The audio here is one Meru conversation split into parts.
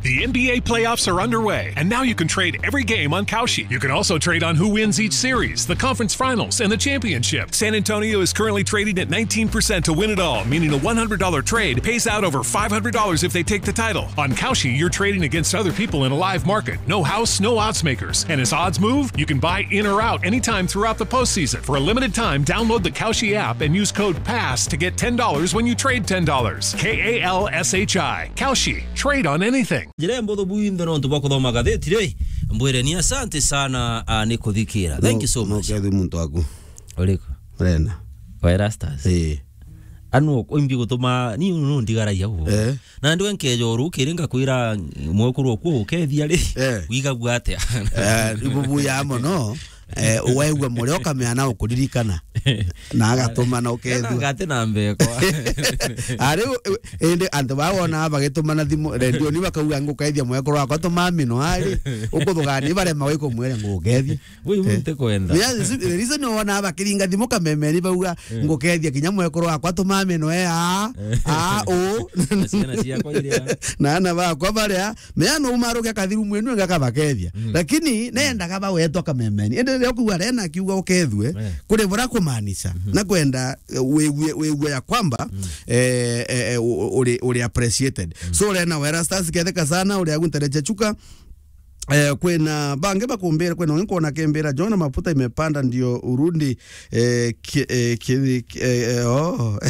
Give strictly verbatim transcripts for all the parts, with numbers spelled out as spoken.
The N B A playoffs are underway, and now you can trade every game on Kalshi. You can also trade on who wins each series, the conference finals, and the championship. San Antonio is currently trading at nineteen percent to win it all, meaning a one hundred dollar trade pays out over five hundred dollars if they take the title. On Kalshi, you're trading against other people in a live market. No house, no odds makers. And as odds move, you can buy in or out anytime throughout the postseason. For a limited time, download the Kalshi app and use code pass to get ten dollars when you trade ten dollars. K A L S H I. Kalshi. Trade on anything. Njira mbuthu bwinthe nontu bwa kuthoma gatheti ri, mbwire ni asante sana, ah, ni kuthikira. Thank you so much. Nokethwi muntu waku. Uriku? Rena. Wa Erastus? Ii. Anu oimbi gutuma ni nu ndigaragia u. Eh. Na ndiwe nkeja uru kiri ngakwira mwekuru oku ukethia ri. Eh. Wigagua atia? Eh, ibubu ya mono. Eh, waigua murio ukamenya na ukuririkana. Na agatuma na ukethua. Ngate na mbekwa. Ari, indi antu baa wona bagitumana thimu, redioni bakauga, "Ngukethia mwekuru wakwa, tuma mino ari." Ukuthugani barema gwikumwira, "Ngukethia." Wi, wi, eh, ntikwenda. Yeah, the reason wona bakiringa thimu kamemeni bauga, eh, "Ngukethia kinya mwekuru wakwa, tuma mino e a, a, u." Na ciana ciakwa iria. Na ana bakwa baria, mea no umaruke kathiru mwenu enga kabakethia. Mm. Lakini nendaga bawetwa kamemeni. Ende reo kuuga Rena akiuga ukethue, eh, kuri bura kumaanisha. Mhm. Na kwenda, eh, wigue, wigue ya kwamba, mm, eh, eh, eh, u-, u-, uri, uri appreciated. Mm. So Rena wa Erastus ketheka sana, uri aguntereche chuka. Eh, kwina bangi bakumbira, kwina ungi nkwona kimbira, "John, mafuta imepanda ndio urudi." Eh, ki-, eh, ki-, ki-, eh, eh, oh.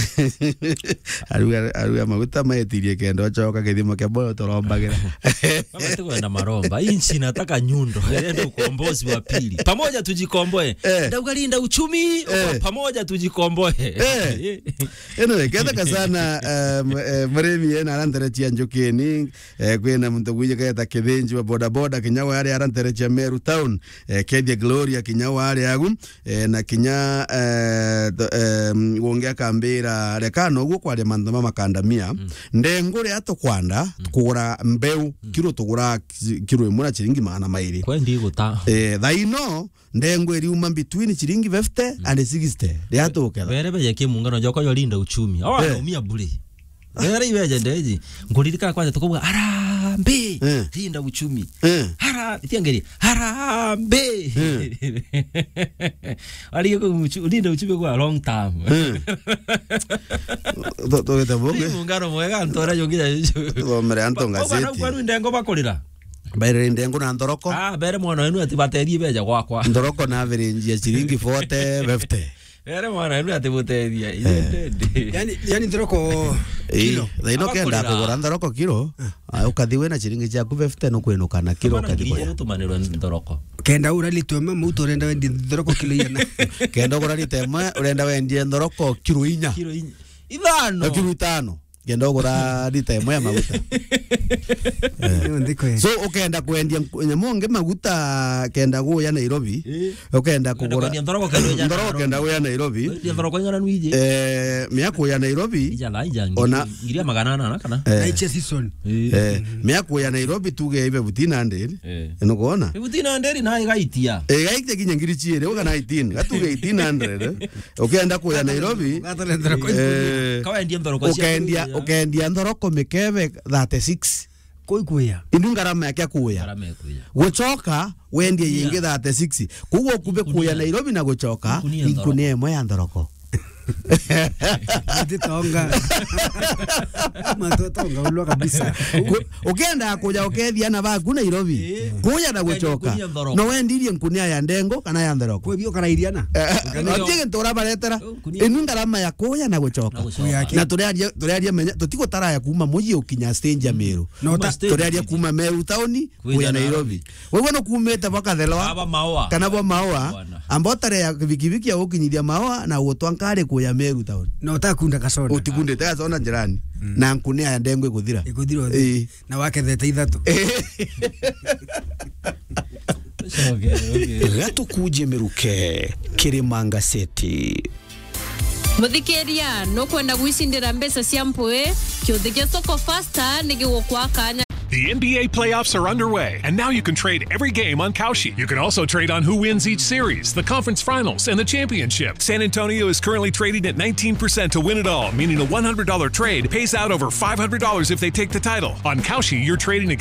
Aruga, aruga maguta maetirie kenda ochoka kithimo kia boyo turombagira. Mama, tukwenda maromba. Hii nchi inataka nyundo. Ende ukombozi wa pili. Pamoja tujikomboe. Eh. Ndauga linda uchumi, eh, pamoja tujikomboe. Eh. Anyway, ketheka sana, um, eh, murimi ena aranteretia njukini, eh, kwina muntu gwije keta kithinji wa bodaboda kinya wari aranteretia Meru Town, eh, kethia Gloria kinya wari agu. Eh, na kinya, eh, th-, em, gungi akambira, "Reka noguo kwaria mantu ma makandamia." Mm. Ndengu ria tukwanda, mm, kugura mbeu, mm, kiro tugura ki-, kiro imwe na ciringi magana mairi. Kwendi guta. Eh, thaino, ndengu iriuma between ciringi fifty, mm, and sixty. Ria tuketha. Bere beje kimungano joko yo linda uchumi. Awa, eh, anaumia bure. Wera ibeje ndeji. Nguririkana kwanja tukauga, "Harambee! Eh. Linda uchumi." Eh. Hara-, itiangeri, "Harambee!" Eh. Ari yuko uchu-, linda uchumi kwa long term. Eh. To-, to-, to-, Ni muungano mwega, antu aria yongire. Thomere antu ngazeti. Kwa ndengo bakurira. Mbere ndengo na nthoroko. Ah, mbere mwana wenu ati baterie beja gwakwa. Nthoroko na average ya ciringi forty, fifty. Ere mwana, enu ati buteethia, eh, ithende ndi. Yani, yani nthoroko kilo. Ii, thaino kenda kugura nthoroko kilo, ah, ukathi wina ciringi ciaku fifty, nukwinuka na kilo ukathi kugura. Tumanirwe nthoroko. Kenda ugura lita imwe, mautu urenda wendie nthoroko kilo igana. Kenda ugura lita imwe, urenda wendie nthoroko kilo inya. Kilo inya. Ithano. Na kilo itano. Kenda ugura lita imwe ya maguta. Eh. Ndio ndiko. So, ukenda kwendia nku-, nyamu ngi maguta kenda guya Nairobi, eh, ukenda kugura kwendia nthoroko kenda guya Nairobi. Nthoroko kenda guya Nairobi. Kwendia nthoroko igana nwiji. Eh, miaku ya Nairobi. Ija la ija ona ngiri, ngiri ya magana ana na kana. Eh. Na iche season. Eh. Eh, miaku ya Nairobi tuge ibe fifteen hundred. Eh. Nukuona? Fifteen hundred na igaitia. Eh, igaitia kinya ngiri chiere, uga na eighteen. Gatuge eighteen hundred. Ukenda kuya Nairobi, eh, kawendia nthoroko cia ukendia, kuya. Ukendia nthoroko mikebe thirty-six. Kuu ikuya. Indu ngarama yake kuya. Ngarama ikuya. Gucoka, wendie yingi thirty-six. Koguo ukube kuya Nairobi na gucoka, inkunia imwe ya nthoroko. Ati tonga. Matu tonga ulwa kabisa. Ku-, ukenda kuja ukethia ana baku Nairobi. Eh. Kuya na gucoka. Inkunia nthoroko. No wendirie nkunia ya ndengo kana ya nthoroko. Kwe bio karairia na. Eh, uti gintu urabaretera. Nkunia. Inu ngarama ya kuya na gucoka. Na gucoka. Kuya ki? Na turiaria, turiaria menya, tutigutara ya kuma muji ukinya stage ya Meru. No ta- Kuma stage. Turiaria kuma Meru tauni, kuya Nairobi. Wewe no kumite bwa Kathelwa, aba Maua. Kana bwa Maua, bwana. Amba utare ya bikibiki ya gukinyithia Maua na gutwa nkari kuya Meru tauni. No utakunda kasonda. Utikundite kasonda njirani. Mm. Na nkunia ya ndengo ikuthira. Ikuthira uthi. Ii. Na wakethete ithatu. Coke, okay. Gatukuje miruke, Kirima Ngaseti. Muthikiria, nukwenda gwicindira mbeca cia mpui? Kiuthi gia Soko Fasta ni gigukwa kanya. The N B A playoffs are underway, and now you can trade every game on Kalshi. You can also trade on who wins each series, the conference finals, and the championship. San Antonio is currently trading at nineteen percent to win it all, meaning a one hundred dollar trade pays out over five hundred dollars if they take the title. On Kalshi, you're trading against